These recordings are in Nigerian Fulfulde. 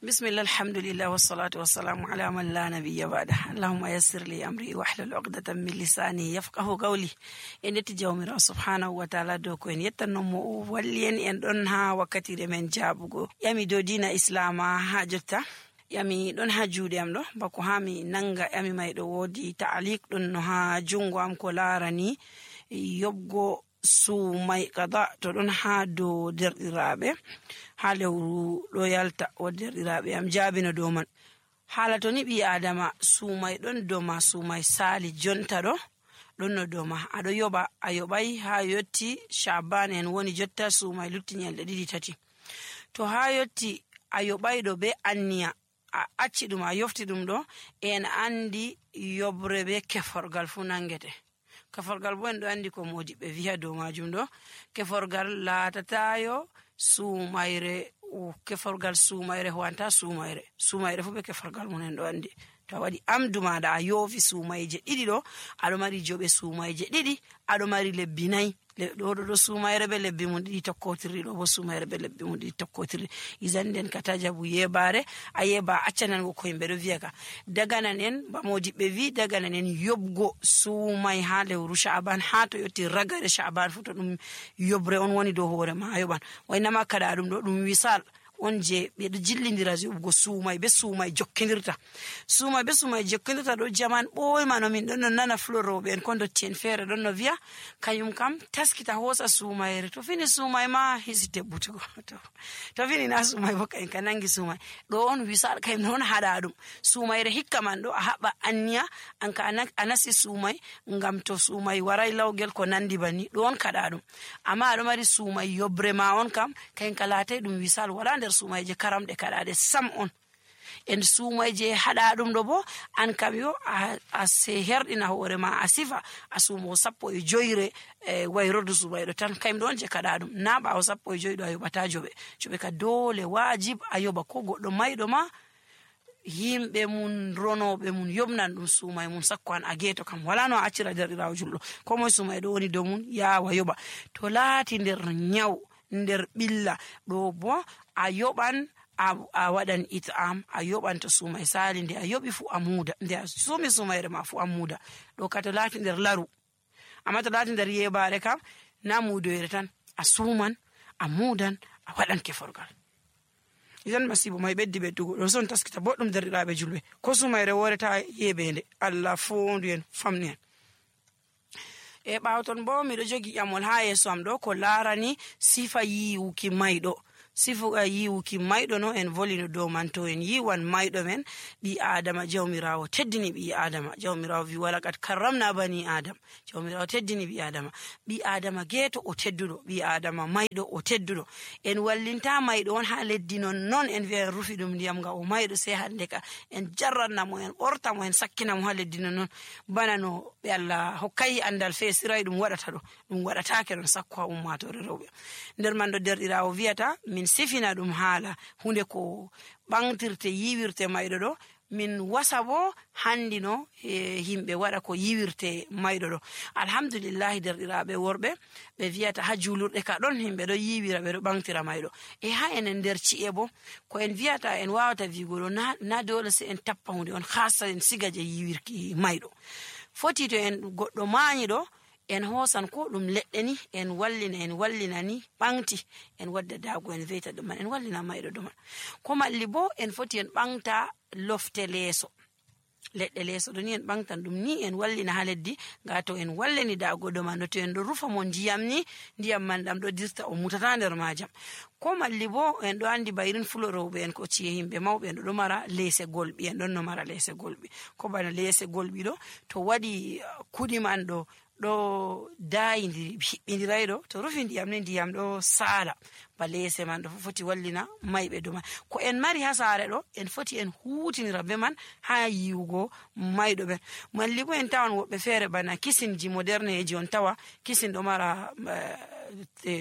Bismillah, alhamdulillah, wassalatu wassalamu ala man la nabiyya ba'da. Allahumma yassir li amri wahlul 'uqdatan min lisani yafqahu qawli. En yetti jawmirawo subhanahu wa ta'ala dow ko en yettanno mo walli en ɗon ha wakkatire men jabugo yami dow dina islama ha jotta. Yami ɗon ha juuɗe am ɗo bako ha mi nanga yami may ɗo wodi ta'liq ɗon no ha jungo am ko larani yobgo sumay qada to ɗon ha dow derɗiraɓe ha lewru ɗo yalta o derɗiraɓe am jaabino dow man. Hala to ni ɓi adama sumay ɗon dow ma sumay sali jonta ɗo ɗon no dow ma aɗo yoɓa a yoɓai ha yotti Sha'ban en woni jotta sumay lutti nyalɗe 2-3 to ha yotti a yoɓai ɗo be anniya a acci ɗum a yofti ɗum ɗo en andi yobre be keforgal fu nangete. Keforgal bo en ɗo andi ko modiɓɓe wi'a dow majum ɗo keforgal latatayo sumayre keforgal sumayre howanta sumayre fu be keforgal mun en ɗo andi. To a waɗi amdu maɗa a yofi sumayje 2 ɗo aɗo mari joɓe sumayje 2 aɗo mari lebbi 4 ɗo sumayre be lebbi mum 2 tokkotirri ɗo bo sumayre be lebbi mum 2 tokkotirri izanden ka tajabu yebare a yeba accanan go ko yimɓe ɗo wi'a ka daganan en ba modiɓɓe wi daganan en yobgo sumay ha lewru Sha'ban ha to yotti ragare Sha'ban fu to ɗum yobre on woni dow hoore ma a yoɓan waynama kada ɗum ɗo ɗum wisal on je ɓeɗo jillidira yoɓugo sumay be sumay jokkindirta ɗo jaman ɓoyma no min ɗon no nana floroɓe en ko dotti en feere ɗon no wi'a kayum kam taskita hosa sumayre to fini sumay ma hisi tebbutugo to fini na sumay bo kayen ka nangi sumay ɗo on wisal kayum non haɗa ɗum sumayre hikka man ɗo a haɓa anniya an ka a nasi sumay ngam to sumay waray lawgel ko nandi bani ɗo on kaɗa ɗum amma aɗo mari sumay yobre ma on kam kayen ka latay ɗum wisal wala sumayje karamɗe kaɗaɗe sam on en sumayje haɗa ɗum ɗo bo an kam yo a se herɗina hoore ma a sifa a sumo 15 wayrordu sumayɗo tan kayum ɗo on je kaɗa ɗum na ɓawo 15 ɗo a yoɓata joɓe ka dole wajib a yoɓa ko goɗɗo mayɗo ma yimɓe mun ronoɓe mun yobnan ɗum sumay mun sakko an a geeto kam wala no a accira derɗirawo julɗo ko moye sumay ɗo woni dow mun yawa yoɓa to laati nder nyaw nder ɓilla ɗo bo a yoɓan a waɗan it'am a yoɓan to sumay sali nde a yoɓi fu a muda nde a sumi sumayre ma fu a muda ɗo ka to laati nder laru amma to laati nder yebare kam na mudoyre tan a suman a mudan a waɗan keforgal idan masibo may beddugo ɗo son taskita boɗɗum derɗiraɓe julɓe ko sumayre woreta yebende Allah fondu en famni en e ɓawton bo miɗo jogi ƴamol ha yeso am ɗo ko larani sifa yiwuki mayɗo sifa yiwuki mayɗo no en volino dow man to en yiwan mayɗo men ɓi adama jawmirawo teddini ɓi adama jawmirawo wi walakat karramna bani adam jawmirawo teddini ɓi adama geeto o tedduɗo ɓi adama mayɗo o tedduɗo en wallinta mayɗo on ha leddi non en wi'a en rufi ɗum ndiyam ga o mayɗo sey hande ka en jarranna mo en ɓorta mo en sakkina mo ha leddi non bana no ɓe Allah hokkayi andal fesiray ɗum waɗata ɗo ɗum waɗatake non sakko ha ummatore rewɓe nder man ɗo derɗirawo wiyata min sifina ɗum haala hunde ko ɓangtirte yiwirte mayɗo ɗo min wasa bo handino himɓe waɗa ko yiwirte mayɗo ɗo alhamdulillahi derɗiraɓe worɓe ɓe wiyata ha julurɗe ka ɗon himɓe ɗo yiwira ɓe ɗo ɓangtira mayɗo e ha enen nder ci'e bo ko en wiyata en wawata wigo ɗo na dole se en tappa hunde on hasa en siga je yiwirki mayɗo foti to en goɗɗo mañi ɗo en hosan ko ɗum leɗɗe ni en wallina ni ɓangti en wadda dago en veyta ɗum man en wallina mayɗo ɗum man ko malli bo en foti en ɓangta lofte leeso leɗɗe leeso ɗo ni en ɓangtan ɗum ni en wallina ha leddi ga to en wallini dago ɗo man to en ɗo rufa mo ndiyam ni ndiyam man ɗam ɗo dirta o mutata nder majam ko malli bo en ɗo andi bayrin fulorowɓe en ko ciye himɓe mawɓe en ɗo mara leese golɓi en ɗon no mara leese golɓi ko bana leese golɓi ɗo to waɗi kuɗi man ɗo dayidiri hiɓɓidiray ɗo to rufi ndiyam ni ndiyam ɗo sala ba leese man ɗo foti wallina mayɓe ɗo man ko en mari ha saare ɗo en foti en hutinira be man ha yiwugo mayɗo ɓen malli bo en tawan woɓɓe feere bana kisinji moderne ji on tawa kisin ɗo mara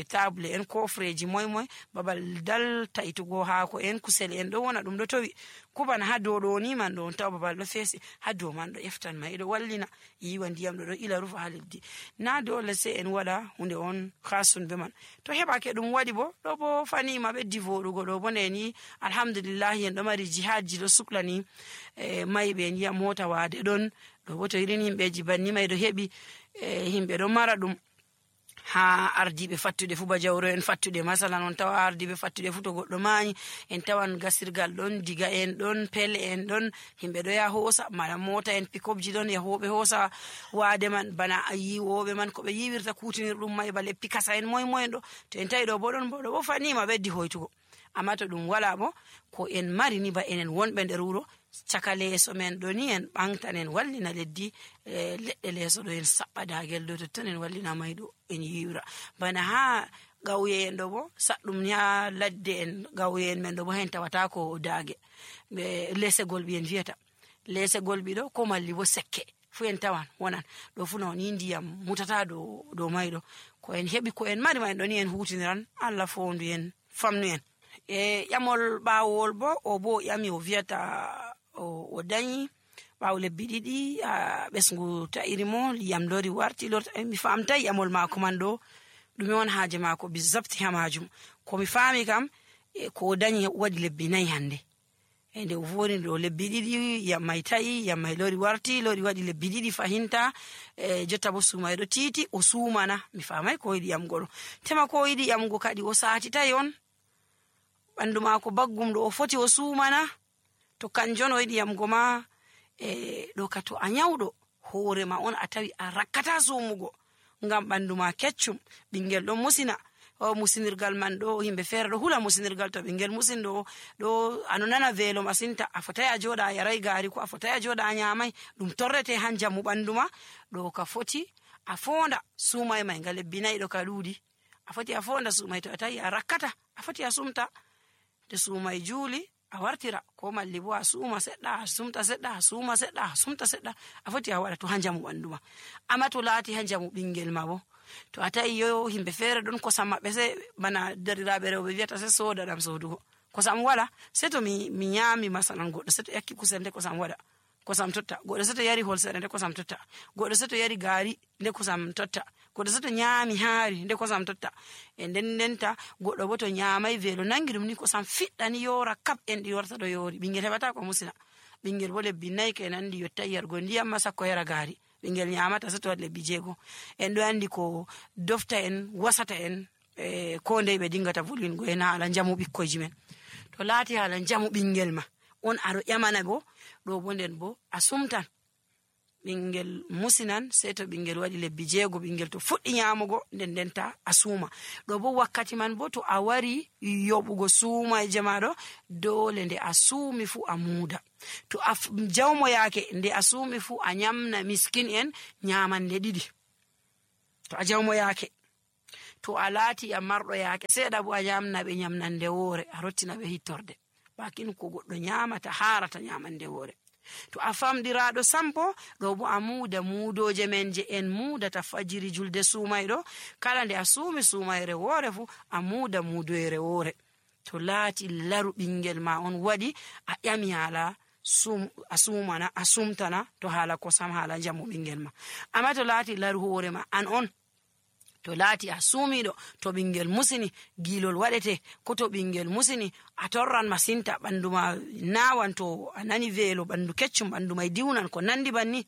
table en kofreji moy babal dal taitugo haako en kusel en do wona dum do towi kubana ha dow do ni man do taw babal do fesi ha dow man do eftan mai do wallina yiwa ndiyam do ila rufa ha leddi na dole se en wada hunde on khasun be man to hebake dum wadi bo do bo fani ma beddi vodugo do bo ni alhamdulillah en do mari jihadji do suklani mai be ndiya mota wade don do bo to irin himbeji banni mai do hebi himbe do mara dum ha ardibe fattude fu ba jawro en fattude masalan on tawa ardibe fattude fu to goddo maani en tawan gasirgal don diga en don pelle en don himbe do ya hosa mala mota en pick-upji don ya hobe hosa waade man bana ayi wobe man ko be yiwirta kutinir dum mai bale pikasa en moy do to en tawi do bo don bo fani ma beddi hoytugo amma to dum wala bo ko en mari ni ba enen wonbe nder wuro caka leeso men do ni en bangtanen wallina leddi ledde leeso do en sabbadagel do to tan en wallina maydo en yiwra bana ha gawye en do bo saddum nya ladde en gawye en men do bo hen tawata ko daage be lesegol bi en vieta lesegol bi do ko malli bo sekke fu en tawan wonan do fu non ndiyam mutata do maydo ko en hebi ko en mari maydo ni en hutiniran alla fondu en famnu en yamol bawol bo o bo yami o vieta o dañi ɓaawo lebbi ɗiɗi ɓesngu ta'irimo liyam lori warti mi famtai yamol maako man ɗo ɗume on haaje maako bizabti ha majum ko mi faami kam ko dañi waɗi lebbi 4 hande e nde o voni ɗo lebbi ɗiɗi yam mai ta'i yam mai lori warti lori waɗi lebbi ɗiɗi fahinta jotta bo suumay ɗo titi o suumana mi faamai ko yiɗi yamgo ɗo tema ko yiɗi yamgo kadi o saatitai on ɓandu maako baggum ɗo o foti o suumana to kanjon o yiɗi yamgo ma ɗo ka to a nyawɗo hoore ma on a tawi a rakkata sumugo ngam ɓandu ma keccum ɓingel ɗon musina o musinirgal man ɗo himɓe feere ɗo hula musinirgal to ɓingel musin ɗo ano nana veelo masinta a fotai a joɗa a yarai gaari ko a fotai a joɗa a nyamai ɗum torrete han jamu ɓandu ma ɗo ka foti a fonda sumai mai nga lebbi 4 ɗo ka ɗuuɗi a foti a fonda sumai to a tawi a rakkata a foti a sumta to sumai juuli a wartira ko malli bo a suuma seɗɗa a sumta seɗɗa a suuma seɗɗa a sumta seɗɗa a foti a waɗa to ha jamu ɓandu ma amma to laati ha jamu ɓingel ma bo to a tawi yo himɓe feere ɗon kosam maɓɓe se bana dariraɓe rewɓe wiyata se soda ɗam sodugo kosam wala se to mi nyami masalan goɗɗo se to yakki kusel nde kosam waɗa kosam totta goɗɗo se to yari holsere nde kosam totta goɗɗo se to yari gaari nde kosam totta goɗɗo se to nyami haari nde kosam totta e ndenta goɗɗo bo to nyamai veelo nangi ɗum ni kosam fiɗɗani yora kap en ɗi warta ɗo yori ɓingel heɓata ko musina ɓingel bo lebbi 4 ke nandi yottai yargo ndiyam ma sakko yara gaari ɓingel nyamata se to waɗi lebbi 6 en ɗo andi ko dofta en wasata en ko ndey ɓe dingata volwingo en haala jamu ɓikkoyji men to laati haala jamu ɓingel ma on aɗo ƴamana bo ɗo bo nden bo a sumtan ɓingel musinan sei to ɓingel waɗi lebbi 6 ɓingel to fuɗɗi nyamugo ndenta a suuma ɗo bo wakkati man bo to a wari yoɓugo suumaje maɗo dole nde a suumi fu a muuda to a jawmoyake nde a suumi fu a nyamna miskin en nyamande 2 to a jawmoyake to a laati a marɗo yake seeɗa bo a nyamnaɓe nyamnande woore a rottinaɓe hittorde bakin ko goɗɗo nyamata harata nyamande woore to a famɗiraɗo sampo ɗo bo a muuda muudoje men je en muudata fajiri julde suumayɗo kala nde a suumi suumayre woore fu a muuda muudoyre woore to laati laru ɓingel ma on waɗi a ƴami haala a suumana a sumtana to haala kosam haala jamu ɓingel ma amma to laati laru hoore ma an on to laati a suumiɗo to ɓingel musini gilol waɗete ko to ɓingel musini a torran masinta ɓandu ma nawan to a nani veelo ɓandu keccum ɓandu mai diwnan ko nandi banni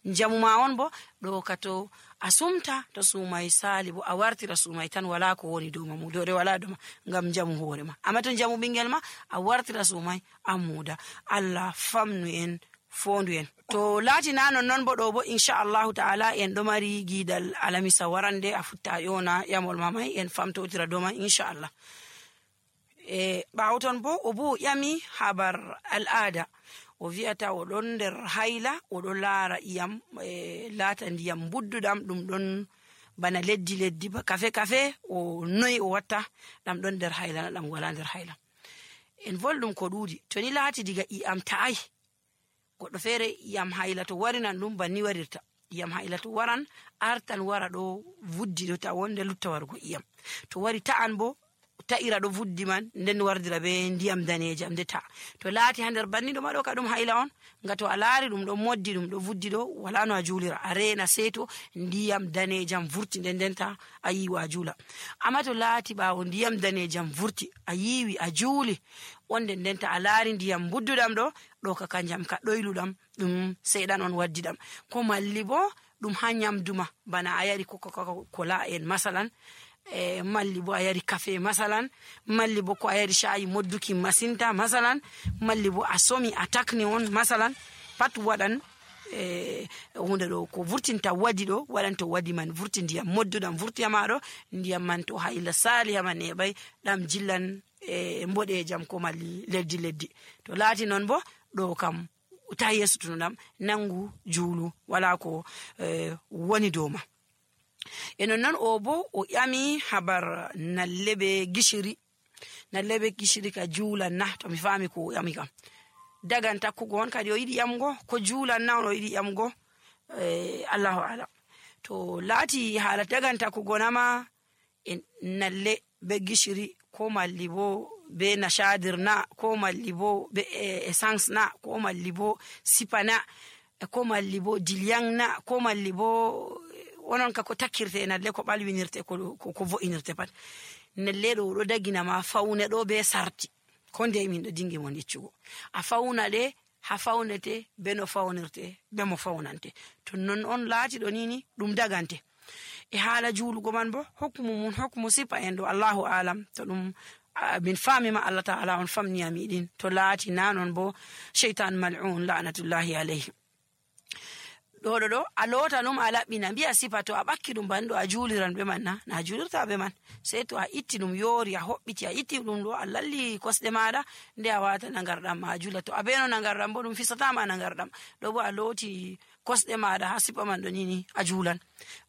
jamu ma on bo ɗo ka to a sumta to suumai sali bo a wartira suumai tan wala ko woni dow ma mudore wala doma ngam jamu hoore ma amma to jamu ɓingel ma a wartira suumai a muuda Allah famnu en fondu en to laati na non bo ɗo bo inchallahu ta'ala en ɗo mari giidal alamisa warande a futta yona yamol mamai en famtotira dow man inchallah ɓawo ton bo o bo ƴami habar al'ada o wi'ata o ɗon nder hayla o ɗo laara iyam laata ndiyam budduɗam ɗum ɗon bana leddi ba kafe o noyi o watta ɗam ɗon nder hayla na ɗam wala nder hayla en volɗum ko ɗuuɗi to ni laati diga iyam ta'ai goɗɗo feere iyam hayla to warinan ɗum banni warirta iyam haila to waran artan wara ɗo vuddi ɗo ta wonde lutta wargo iyam to wari ta'an bo ta'ira ɗo vuddi man nden wardira be ndiyam danejam nde ta to laati ha nder banni ɗo ma ɗo ka ɗum haila on nga to a laari ɗum ɗo moddi ɗum ɗo vuddi ɗo wala no a julira a rena seto ndiyam danejam vurti nden ta a yiwa a jula amma to laati ɓawo ndiyam danejam vurti a yiwi a juuli wonde nden ta a laari ndiyam budduɗam ɗo ka kanjam ka ɗoyluɗam ɗum seeɗan on waddi ɗam ko malli bo ɗum ha nyamduma bana a yari kola en masalan malli bo a yari kafe masalan malli bo ko a yari shayi modduki masinta masalan malli bo a somi a takni on masalan pat waɗan hunde ɗo ko vurtinta wadi ɗo waɗan to wadi man vurti ndiyam modduɗam vurti ha maɗo ndiyam man to haila sali ha man neɓay ɗam jillan mboɗejam ko malli leddi to laati non bo ɗo kam ta yesutuno ɗam nangu juulu wala ko woni dow ma e non o bo o ƴami habar nalle be gishiri ka juulan na to mi faami ko o ƴami kam dagan takkugo on kadi o yiɗi ƴamgo ko juulan na on o yiɗi ƴamgo allahu alam to laati haala dagan takkugo nama e nalle be gishiri ko malli bo be nashadir na ko malli bo be essence na ko malli bo sipa na ko malli bo dilyang na ko malli bo onon ka ko takkirte nalle ko ɓalwinirte ko vo'inirte pat nalle ɗo dagina ma fawne ɗo be sarti ko nde min ɗo dingi mon yeccugo a fawna ɗe ha fawnete be no fawnirte be mo fawnante to non on laati ɗo nini ɗum dagante e haala juulugo man bo hokkumu sipa en ɗo allahu alam to ɗum min faami ma Allah ta'ala on famniya miɗin to laati nanon bo sheytan mal'un la'natullahi alayhi ɗo a loota ɗum a laɓɓina mbiya sifa to a ɓakki ɗum banɗo a juuliran ɓe man na juulirta ɓe man sey to a itti ɗum yoori a hoɓɓiti a itti ɗum ɗo a lalli kosɗe maɗa nde a wata nagarɗam ma a juula to a beno nagarɗam bo ɗum fisatama nagarɗam ɗo bo a looti kosɗe maɗa ha sipa man ɗo nini a juulan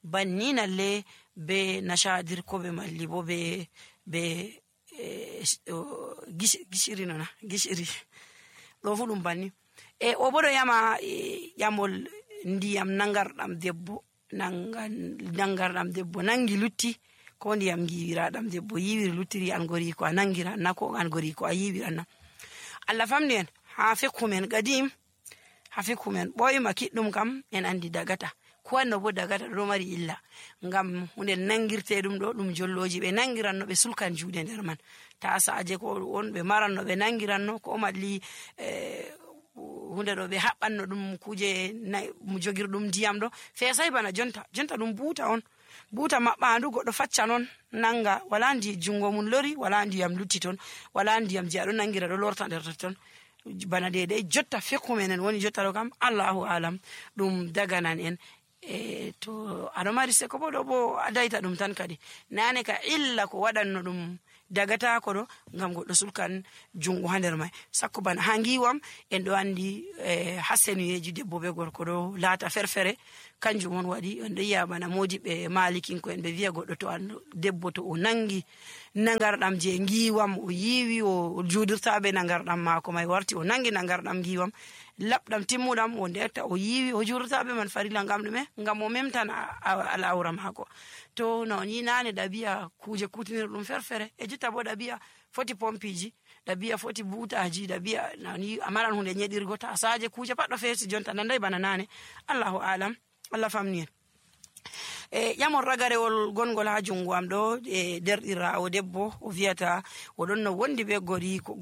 banni nalle be nashadir ko ɓe malli bo be gishiri nona gishiri ɗo fu ɗum banni e o bo ɗo yama ƴamol ndiyam nangarɗam debbo nangi lutti ko ndiyam giwiraɗam debbo yiwiri luttiri an gori ko a nangiran na ko an gori ko a yiwiran na Allah famni en ha fekkumen gadim ha fekkumen ɓoyma kiɗɗum kam en andi dagata ko wanno bo dagata ɗo mari illa ngam hunde nangirte ɗum ɗo ɗum jolloji ɓe nangiranno ɓe sulkan juuɗe nder man ta saaje ko on ɓe maranno ɓe nangiranno ko malli hunde ɗo ɓe haɓɓanno ɗum kuje jogirɗum ndiyam ɗo feesay bana jonta ɗum buuta maɓɓandu goɗɗo facca noon nanga wala ndi jungo mum lori wala ndiyam lutti toon wala ndiyam je aɗo nangira ɗo lorta nder ton bana dede jotta fekkumenen woni jotta ɗo kam allahu alam ɗum daganan en to aɗo mari seko bo ɗo bo a dayta ɗum tan kadi nane ka illa ko waɗanno ɗum dagata ko ɗo ngam goɗɗo sulkan jungo ha nder mai sakko bana ha ngiwam en ɗo andi ha senuyeji debbo be gorko ɗo laata ferfere kanjum on waɗi en ɗo yiya bana modiɓe malikinko en ɓe wiya goɗɗo to an debbo to o nangi nagarɗam je ngiwam o yiwi o juudirtaɓe nagarɗam mako mai warti o nangi nagarɗam ngiwam labɗam timmuɗam o ndetta o yiwi o juudirtaɓe man farila ngam ɗume ngam o memtan al'aura mako to no ni nane ɗabi'a kuje kutinirɗum ferfere e jotta bo ɗabi'a foti pompiji ɗabi'a foti butaji ɗabi'a nani amaran hunde nyeɗirgo tasaje kuje pat ɗo feesi jonta nanday bana nane allahu alam Allah famni en ƴamon ragarewol gongol ha jungo am ɗo e derɗirawo debbo o wiyata oɗon no wondi ɓe gori ko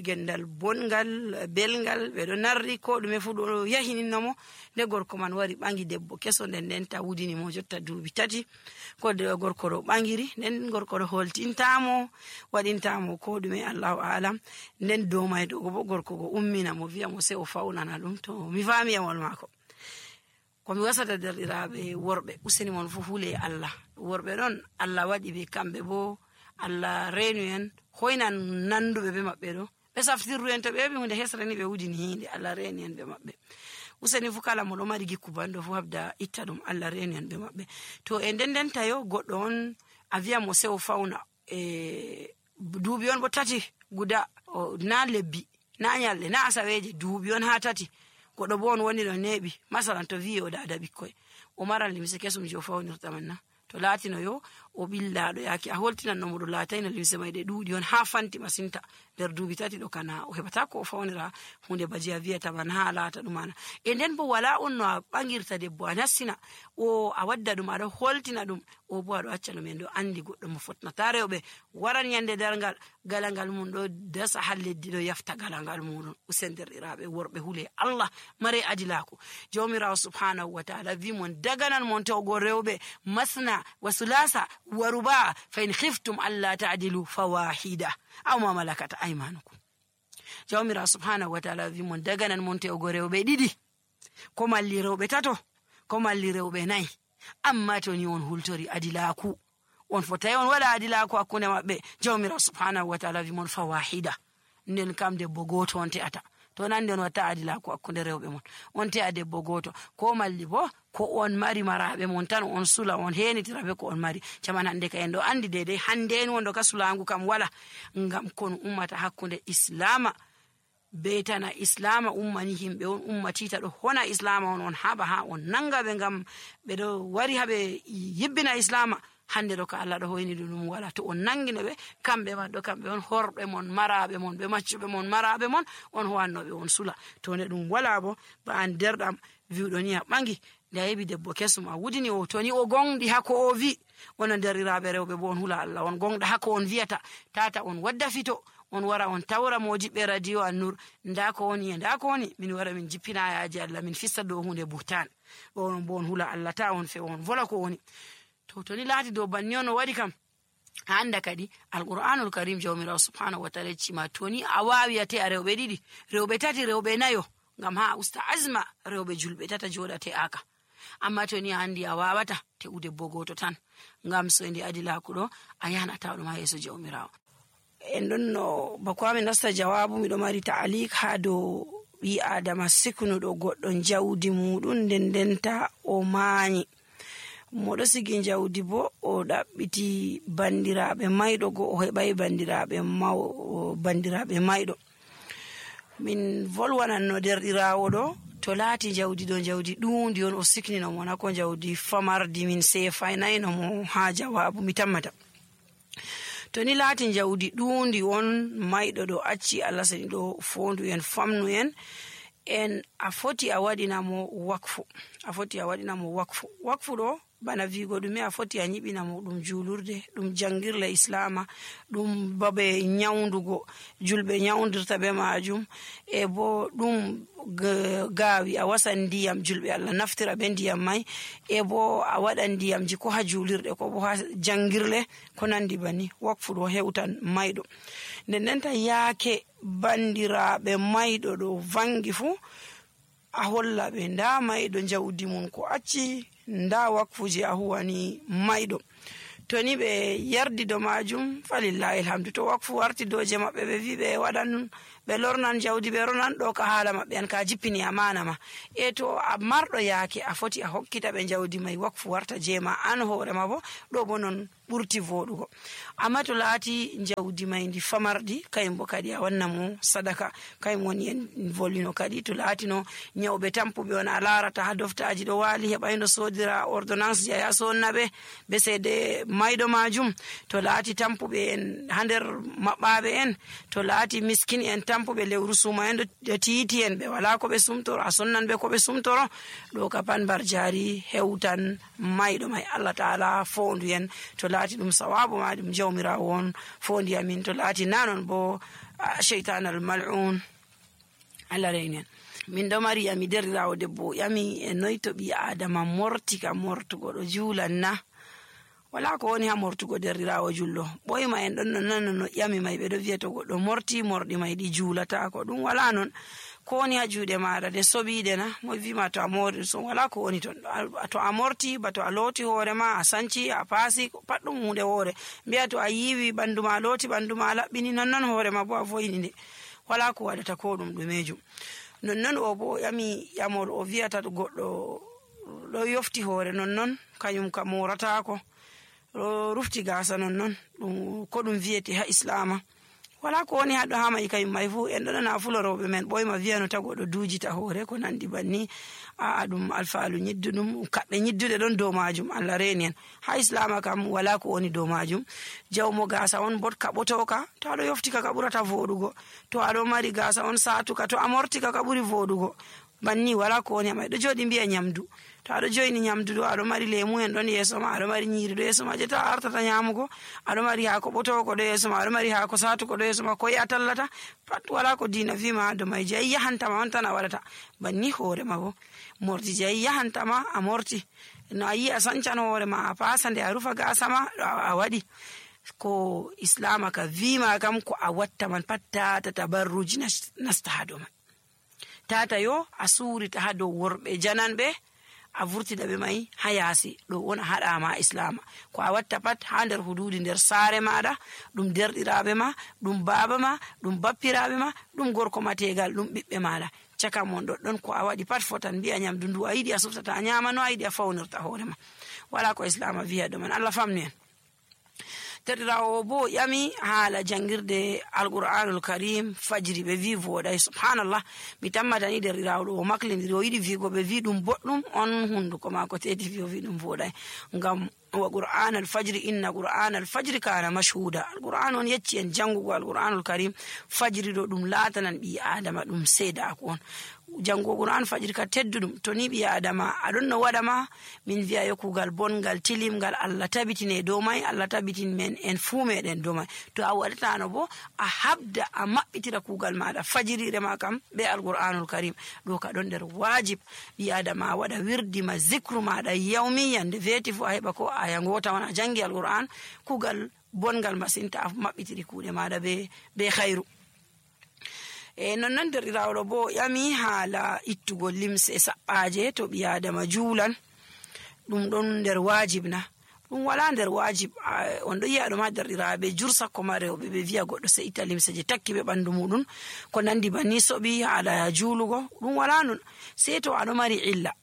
gendal bongal belgal ɓeɗo narri ko ɗume fu ɗo yahininnomo nde gorko man wari ɓangi debbo keso nden ta wudinimo jotta duuɓi 3 ko gorko ɗo ɓangiri nden gorko ɗo holtintamo waɗintamo ko ɗume allahu alam nden dow may ɗo bo gorko go ummina mo wiya mo se o fawnana ɗum to mi fami yamol mako komi wasata derɗiraɓe worɓe useni mon fu hule Allah worɓe ɗon Allah waɗi ɓe kamɓe bo Allah reenu en hoynan nanduɓe ɓe maɓɓe ɗo ɓe saftirru en to ɓe heɓi hunde hesrani ɓe wudini hinde Allah reeni en ɓe maɓɓe useni fu kala mo ɗo mari gikku banɗo fu habda itta ɗum Allah reeni en ɓe maɓɓe to e nden tayo goɗɗo on a wiya mo sewo fawna duuɓi on bo 3 guda na lebbi na nyalɗe na asaweje duuɓi on ha 3 goɗɗo bo on woni ɗo neeɓi masalan to wi o dada ɓikkoy o maran limse kesum je o fawnirta man na to laatino yo o billaɗo yaki a holtinan no moɗo laatayno limse may ɗe ɗuuɗi on ha fanti masinta nder duuɓi 3 ɗo kana o heɓata ko o fawnira hunde baji a wiyata man ha laata ɗum ana e nden bo wala on no a ɓangirta debbo a nassina o a wadda ɗum aɗa holtina ɗum o bo aɗo acca ɗum en ɗo andi goɗɗo mo fotnata rewɓe waran yande dargal galangal mum ɗo dasa ha leddi ɗo yafta galangal muɗum usenderɗiraɓe worɓe hule Allah mare adilako jawmirawo subhanahu wa ta'ala wi mon daganan mon tawgo rewɓe masna wa sulasa wa ruba fa in khiftum alla ta'dilu fawahida aw ma malakata aymanukum jawmirawo subhanahu wa ta'ala wi mon daganan mon tawgo rewɓe ɗiɗi ko malli rewɓe tato ko malli rewɓe nayi amma to ni on hultori adilaku on fotai on wala adilaku hakkunde mabbe jawmirawo subhanahu wa ta'ala wi mon fawahida nden kam debbo goto on te'ata to nan den wata adilaku hakkunde rewɓe mon on te'a debbo goto ko malli bo ko on mari maraɓe mon tan on sula on henitiraɓe ko on mari caman hande ka en ɗo andi dedei hande en wondo ka sulangu kam wala ngam kon ummata hakkunde islama betana islama ummani himɓe on ummatita ɗo hona islama on haɓa ha on nanga ɓe ngam ɓeɗo wari haɓe yibbina islama hande ɗo ka Allah ɗo hoyni ɗum wala to on nangino ɓe kamɓe man ɗo kamɓe on horɓe mon maraɓe mon ɓe maccuɓe mon maraɓe mon on howannoɓe on sula to ne ɗum wala bo ba an derɗam wiwɗo ni a ɓangi nde a yeɓi debbo kesum a wudini o to ni o gonɗi hako o wi onon derriraɓe rewɓe bo on hula Allah on gonɗa hako on wiyata tata on wadda fito on wara on tawra mojiɓɓe radio An-Nur nda ko woni e nda ko woni min wara min jippina yaji Allah min fista dow hunde buhtan on bo on hula Allah ta on fe on vola ko woni to ni laati dow banni on o waɗi kam anda kadi alqur'anul karim jawmirawo subhanahu wa ta'ala cima to ni a wawi ate a rewɓe ɗiɗi rewɓe tati rewɓe nayo ngam ha usta azma rewɓe julɓe tata joɗate aka amma to ni a andi a wawata te'u debbo goto tan ngam so ndi adilaku ɗo a yahanata ɗum ha yeeso jawmirawo en ɗon no bako amin nasta jawabu miɗo mari ta'alik ha dow ɓi adama siknuɗo goɗɗo jawdi muɗum nden denta o maani moɗo sigi jawdi bo o ɗaɓɓiti bandiraɓe mayɗo go o heɓai bandiraɓe mayɗo min volwananno derɗirawo ɗo to laati jawdi ɗo jawdi ɗundi on o siknino mo na ko jawdi famardi min sefaynayno mo ha jawabu mi tammata to ni laati jawdi ɗundi on mayɗo ɗo acci Allah sani ɗo fondu en famnu en a foti a waɗinamo wakfu ɗo bana vigo ɗume a foti a ñiɓinamo ɗum julurde ɗum jangirle islama ɗum babe nyawdugo julɓe nyawdirta be majum e bo ɗum gaawi a wasan ndiyam julɓe Allah naftira be ndiyam may e bo a waɗan ndiyamji ko ha julirɗe ko bo ha jangirle ko nandi bani wakfu ɗo hewtan mayɗo nden ta yaake bandiraɓe mayɗo ɗo vangi fu a holla ɓe nda mayɗo jawdi mum ko acci nda wakfuji a huwani mayɗo to ni ɓe yardi do majum falillahi alhamdu to wakfu warti doje maɓɓe ɓe wi ɓe waɗan ɓe lornan jawdi ɓe ronan ɗo ka haala maɓɓe an ka jippini amana ma e to a marɗo yaake a foti a hokkita ɓe jawdi may wakfu warta jema an hoorema bo ɗo bo non ɓurti voɗugo amma to laati jawdi may ndi famardi kayum bo kadi a wanna mo sadaka kayum woni en volino kadi to laatino nyawɓe tampuɓe on a larata ha doftaji ɗo waali heɓayno sodira ordonnance je ya sonnaɓe be seede mayɗo majum to laati tampuɓe en ha nder maɓɓaɓe en to laati miskin en tampuɓe lewru suma en ɗo tiiti en ɓe wala ko ɓe sumtoro a sonnan ɓe ko ɓe sumtoro ɗo ka pan bar jari hewtan mayɗo may Allah taala fondu en to laati ɗum sawabu ma ɗum jawmirawo on fondi amin to laati nanon bo shaytan al mal'un Allah reynen min ɗo mari yami derrirawo debbo yami e noy to ɓi adama morti ka mortugo ɗo juulan na wala ko woni ha mortugo derrirawo jullo ɓoyma en ɗon no yami may ɓe ɗo wiya to goɗɗo morti morɗi may ɗi juulata ko ɗum wala non ko woni ha juuɗe maɗa de soɓiɗe na mo wima to a mori so wala ko woni ton to a morti ba to a looti hoorema a sanci a paasi pat ɗum hunde hoore mbiya to a yiwi ɓandu ma looti ɓandu ma laɓɓini nonnon hoorema bo a foyni nde wala ko waɗata ko ɗum ɗumejum nonnon o bo yamol o wiyata goɗɗo ɗo yofti hoore nonnon kañum ka moratako ɗo rufti gasa nonnon ɗum ko ɗum wiyete ha islama wala ko woni haɗo ha mai kayum mai fu en ɗo nana fuloroɓe men ɓoyma wiya no tago ɗo dujita hoore ko nandi banni ɗum alfaalu ñidduɗum kaɓɓe ñidduɗe ɗon dow majum Allah reni en. Ha islama kam wala ko woni dow majum. Jawmo gasa on bot kaɓotoka to aɗo yoftika ka ɓurata voɗugo, to aɗo mari gasa on satuka to a mortika ka ɓuri voɗugo. Banni wala ko woni mai ɗo joɗi mbiya nyamdu, to aɗo joyni nyamdu ɗo aɗo mari lemu en ɗon yeso ma, aɗo mari nyiri ɗo yeso ma je ta a artata nyamugo, aɗo mari haako ɓotoko ɗo yeso ma, aɗo mari haako satuko ɗo yeso ma, koye a tallata pat wala ko dina fima ha do mai. Jayi yahantama on tan a waɗata. Banni hoore ma bo mordi jayi yahantama a morti, no a yi a sancan hoore ma a pasa nde a rufa gasa ma a waɗi ko islama ka vima kam ko a watta man pat tata tabarruji nasta ha do mai. Tata yo a surita ha dow worɓe jananɓe a vurtida ɓe mai ha yaasi ɗo wona haɗama islama. Ko a watta pat ha nder hududi nder saare maɗa, ɗum derɗiraɓe ma, ɗum baba ma, ɗum bappiraɓe ma, ɗum gorko ma tegal, ɗum ɓiɓɓe maɗa caka mon ɗoɗɗon ko a waɗi pat fotan mbiya nyamdu ndu a yiɗi a suftata a nyama no a yiɗi a fawnirta hoore ma. Wala ko islama wiya ɗo man. Allah famni en. Terɗirawo bo yami haala jangirde alqur'anul karim fajiri ɓe wi voɗay. Subhanallah, mi tammatani derɗirawo ɗo o maklindiri o yiɗi wigo ɓe wi ɗum boɗɗum, on hunduko mako teti wi o wi ɗum voɗay. Ngam wa qur'an al fajri inna qur'an al fajri kana mashhuda. Alqur'an on yecci en jangugo alqur'anul karim fajiri ɗo ɗum latanan ɓi adama ɗum seedako on. Jango qur'an fajiri ka tedduɗum to ni ɓi adama aɗon no waɗama min wiya yo kugal bongal tilimgal Allah tabitine dow mai, Allah tabitin men en fuu meɗen dow mai. To a waɗatano bo a habda a maɓɓitira kugal maɗa fajirire ma kam be alqur'anul karim ɗo ka ɗon nder wajib ɓi adama waɗa wirdima zicru maɗa yawmi yande weeti fu a heɓa ko aya ngota wona jangi alqur'an kugal bongal masinta a maɓɓitiri kuuɗe maɗa be khairu. Non derɗirawo bo yami haala ittugo limse saɓɓaje to ɓi adama juulan ɗum ɗon nder wajib na ɗum wala nder wajib. On ɗo yi'a ɗo ma derɗiraɓe jur sakko ma rewɓe ɓe wiya goɗɗo se itta limse je takki ɓe ɓandu muɗum ko nandi banni soɓi haala juulugo ɗum wala non sei to aɗo mari illa.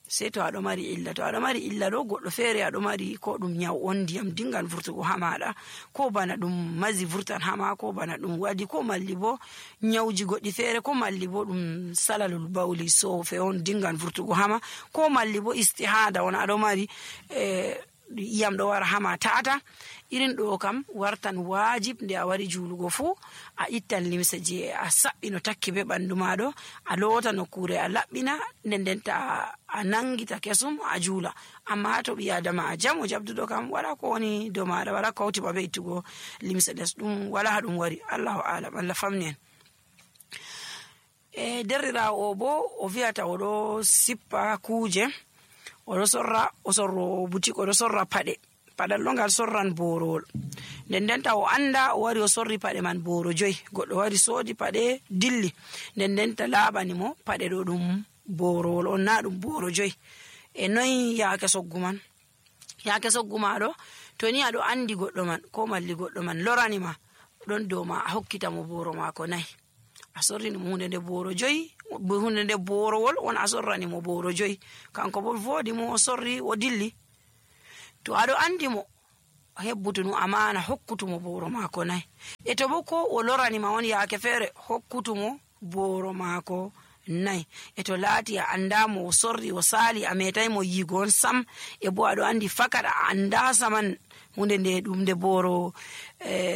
To aɗo mari illa ɗo goɗɗo feere aɗo mari ko ɗum nyaw on ndiyam dingan vurtugo ha maɗa, ko bana ɗum mazi vurtan hama, ko bana ɗum waɗi, ko malli bo nyawji goɗɗi feere, ko malli bo ɗum salalul bawli sofe on dingan vurtugo hama, ko malli bo istihada on aɗo mari iyam ɗo wara hama tata. Irin ɗo kam wartan wajib nde a wari juulugo fu a ittan limse je a saɓɓi no takki be ɓandu maɗo, a loota nokkure a laɓɓina ndenta a nangita kesum a juula. Amma to ɓi adama a jam o jabduɗo kam wala ko woni dow maɗa, wala ko hawti babe ittugo limse ɗes, ɗum wala ha ɗum wari. Allahu alam, Allah famni en. Derɗirawo o bo o wiyata oɗo sippa kuje, oɗo sorro butik, oɗo sorra paɗe. Paɗal ɗo ngal sorran borowol, ndenta o anda o wari o sorri paɗe man boro 5. Goɗɗo wari soodi paɗe dilli, ndenta laaɓani mo paɗe ɗo ɗum borowol on na ɗum boro 5. Noyi yaake soggu man? Yaake soggu maɗo to ni aɗo andi goɗɗo man ko malli goɗɗo man lorani ma ɗon dow ma a hokkita mo boro mako 4. A sorrini mo hunde nde boro 5, hunde nde borowol on a sorrani mo boro 5, kanko bo voodi mo o sorri o dilli. To aɗo andi mo hebbutunu amana hokkutumo boro mako 4. To bo ko o lorani ma on yaake feere hokkutumo boro mako 4. To laati a andamo o sorri o sali a metai mo yigo on sam, bo aɗo andi fakat a anda saman hunde nde ɗum nde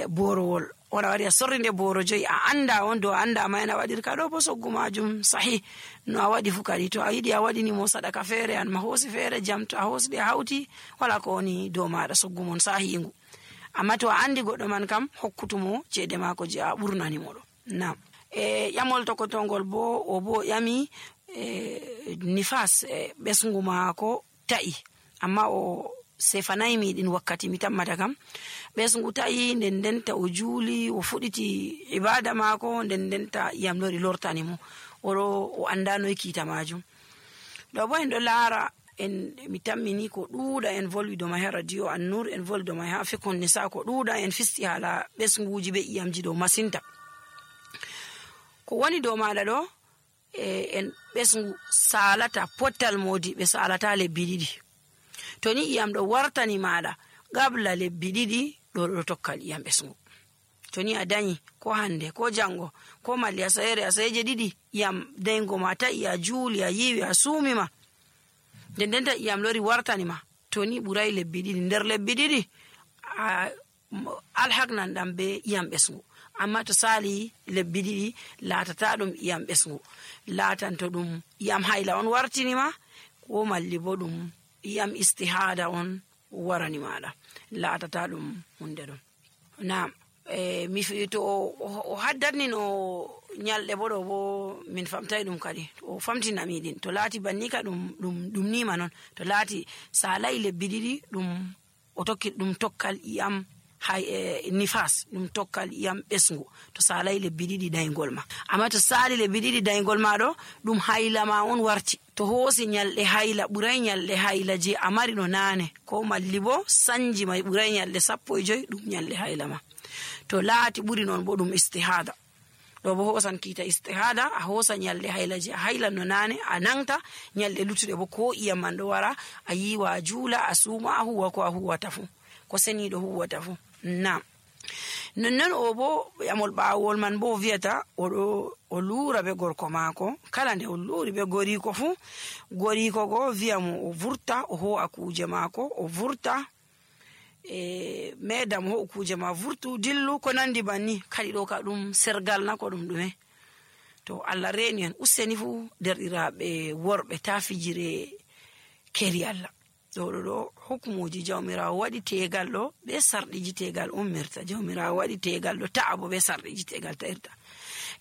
borowol on a wari a sorri nde boro 5 a anda on do anda ma en a waɗirka ɗo bo soggu majum sahi no a waɗi fu kadi. To a yiɗi a waɗini mo sadaka feere an ma hoosi feere jam, to a hoosɗi a hawti wala ko woni dow maɗa soggu mon sahingu. Amma to a andi goɗɗo man kam hokkutumo ceede mako je a ɓurnani mo ɗo. Nam ƴamol tokotongol bo o bo ƴami nifas ɓesngu mako ta'i, amma o sefanayi miɗin wakkati mi tammata kam ɓesngu ta'i, ndenta o juuli o fuɗiti ibada mako, ndenta iyam lori lortani mo o andanoy kiita majum. Ɗo bo en ɗo laara en mi tammini ko ɗuuɗa en volwi do mai ha radio An-Nur, en volwi do mai ha Fiqhun Nisa, ko ɗuuɗa en fisti hala ɓesnguji be iyamji ɗo masinta. Ko woni dow maɗa ɗo en ɓesngu salata pottal modi ɓe salata lebbi 2. To ni iyam ɗo wartani maɗa gabla lebbi 2 ɗo tokkal iyam ɓesngu. to ni a danyi ko hande ko jango ko malli asayeje ɗiɗi iyam dayngo ma ta'i a juuli a yiwi a suumima ndendenta iyam lori wartanima to ni ɓuray lebbi ɗiɗi nder lebbi ɗiɗi alhaqnan ɗam be iyam ɓesngu amma to sali lebbi ɗiɗi latata ɗum iyam ɓesngu latan to ɗum iyam hayla on wartinima ko malli bo ɗum iyam istihada on warani maɗa latata ɗum hunde ɗum nam mi to o haddatni no nyalɗe bo ɗo bo min famtai ɗum kadi o famtinami ɗin to laati banni ka ɗum nima non to laati salai lebbi ɗiɗi ɗum o tokki ɗum tokkal iyam nifas ɗum tokkal iyam ɓesngu to salai lebbi ɗiɗi daygol ma amma to sali lebbi ɗiɗi daygol ma ɗo ɗum hayla ma on warti to hoosi nyalɗe hayla ɓuray nyalɗe hayla je a mari no nane ko malli bo sanji mai ɓuray nyalɗe 15 ɗum nyalɗe hayla ma to laati ɓuri non bo ɗum istihada ɗo bo hosan kiita istihada a hosa nyalɗe hayla je a hayla no nane a nangta nyalɗe luttuɗe bo ko iyam man ɗo wara a yiwa a juula a suuma a huwa ko a huwata fu ko seniɗo huwata fu nam nonnon o bo yamol ɓawol man bo wiyata o luura be gorko maako kala nde o luuri be goriko fu goriko go wiyamo o vurta o ho'a kuje maako o vurta medam ho kuje ma vurtu dillu ko nandi banni kadi ɗo ka ɗum sergal na ko ɗum ɗume to Allah reni en useni fu derɗiraɓe worɓe ta fijire keri Allah ɗo hukumuji jawmirawo waɗi tegal ɗo be sarɗiji tegal ummirta jawmirawo waɗi tegal ɗo ta'a bo be sarɗiji tegal ta'irta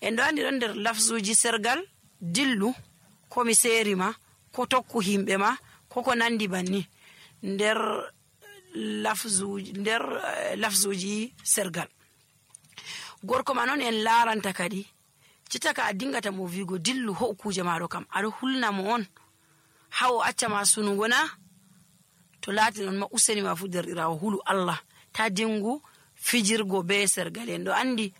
en ɗo andi ɗon nder lafzuji sergal dillu ko mi seri ma ko tokku himɓe ma ko nandi banni nder lafzuji sergal gorko ma non en laranta kadi citaka a dingata mo wigo dillu ho kuje maɗo kam aɗo hulna mo on hawo acca ma sunugo na to laati non ma useni ma fu derɗirawo hulu Allah ta dingu fijirgo be sergal en ɗo andi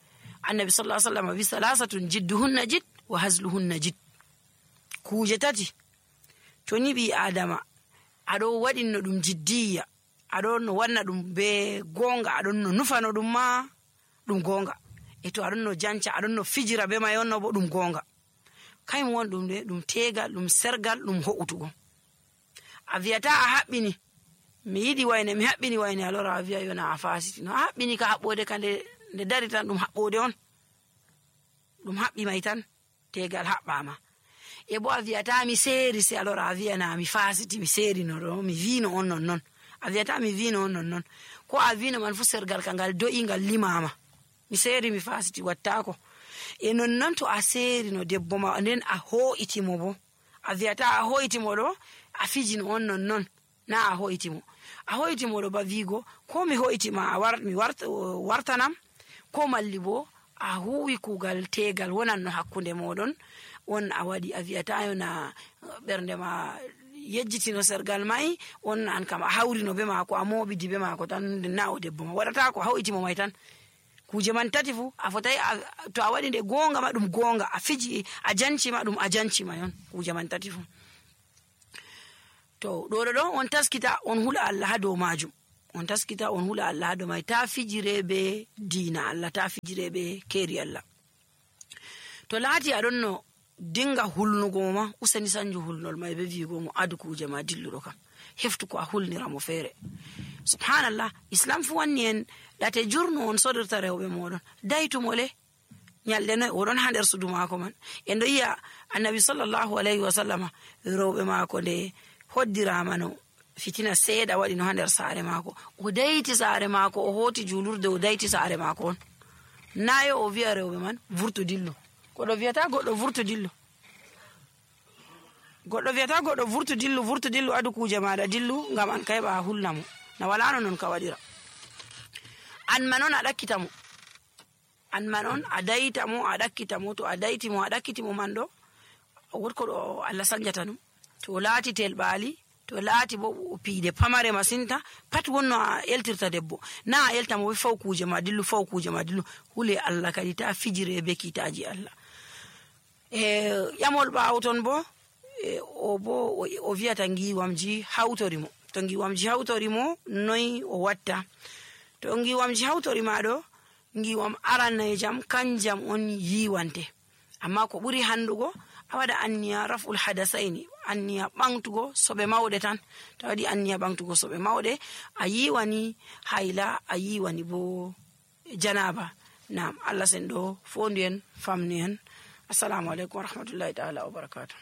annabi sallallahu alaihi wasallam wi salasatun jidduhunna jid wa hazluhunna jid kuje tati to ni bi adama aɗo waɗinno ɗum jiddiya aɗon no wanna ɗum be gonga aɗon no nufano ɗum ma ɗum gonga e to aɗon no janca aɗon no fijira be may onno bo ɗum gonga kayum won ɗum de ɗum tegal ɗum sergal ɗum ho'utugo a wiyata a haɓɓini mi yiɗi wayne mi haɓɓini wayne alora a wiya yona a fasiti no a haɓɓini ka haɓɓode ka nde dari tan ɗum haɓɓode on ɗum haɓɓi may tan tegal haɓɓama e bo a wiyata mi seeri se alora a wiyana mi fasiti mi seeri no ɗo mi wino on non a wiyata mi wino on non ko a wino man fu sergal ka ngal do'i ngal limama mi seeri mi fasiti wattako e non to a seeri no debbo ma nden a ho'itimo bo a wiyata a ho'itimo ɗo a fijino on non na a ho'itimo ɗo ba wigo ko mi ho'itima mi wartanam ko malli bo a huwi kugal tegal wonan no hakkunde moɗon on a waɗi a wiyata yona ɓernde ma yejjitino sergal mai on an kam a hawrino be maako a moɓidi be maako tan na o debbo ma waɗata ko hawitimo mai tan kuje man tati fu a fotai to a waɗi nde gonga ma ɗum gonga a fiji a jancima ɗum a jancima yon kuje man tati fu to ɗo on taskita on hula Allah ha dow majum on taskita on hula Allah ha dow mai ta fijire be diina Allah ta fijire be keri Allah to laati aɗon no dinga hulnugo ma useni sanju hulnol mai be wigo mo adu kuje ma dilluɗo kam heftu ko a hulnira mo feere subhanallah islam fu wanni en ɗate jurno on sodirta rewɓe moɗon daytumole nyalɗe noy oɗon ha nder sudu maako man en ɗo yiya annabi sallallahu alayhi wa sallama rewɓe maako nde hoddirama no fitina seeɗa waɗi no ha nder saare maako o dayti saare maako o hoti julurde o dayti saare maako on nayo o wiya rewɓe man vurtu dillu goɗɗo wiyata goɗɗo vurtu dillu vurtu dillu adu kuje maɗa dillu ngam an kayɓa a hulnamo na walano non ka waɗira an man on a ɗakkitamo an man on a daytamo a ɗakkitamo to a daytimo a ɗakkitimo man ɗo wotko ɗo Allah sanjata ɗum to laati telɓali to laati bo piide pamare masinta pat wonno a eltirta debbo na a eltamo be faw kuje ma dillu hule Allah kadi ta fijire be kitaji Allah yamol ɓawo ton bo o wiyata ngiwamji hawtorimo to ngiwamji hawtorimo noy o watta to ngiwamji hawtorima ɗo ngiwam arannaye jam kanjam on yiwante, amma ko ɓuri handugo a waɗa anniya raf'ul hadasaini, anniya ɓamtugo soɓe mawɗe tan. To waɗi anniya ɓamtugo soɓe mawɗe a yiwani hayla, a yiwani bo janaba. Nam Allah senɗo fondu en famnu en. Assalamu alaikum wa rahmatullahi ta'ala wa barakatuh.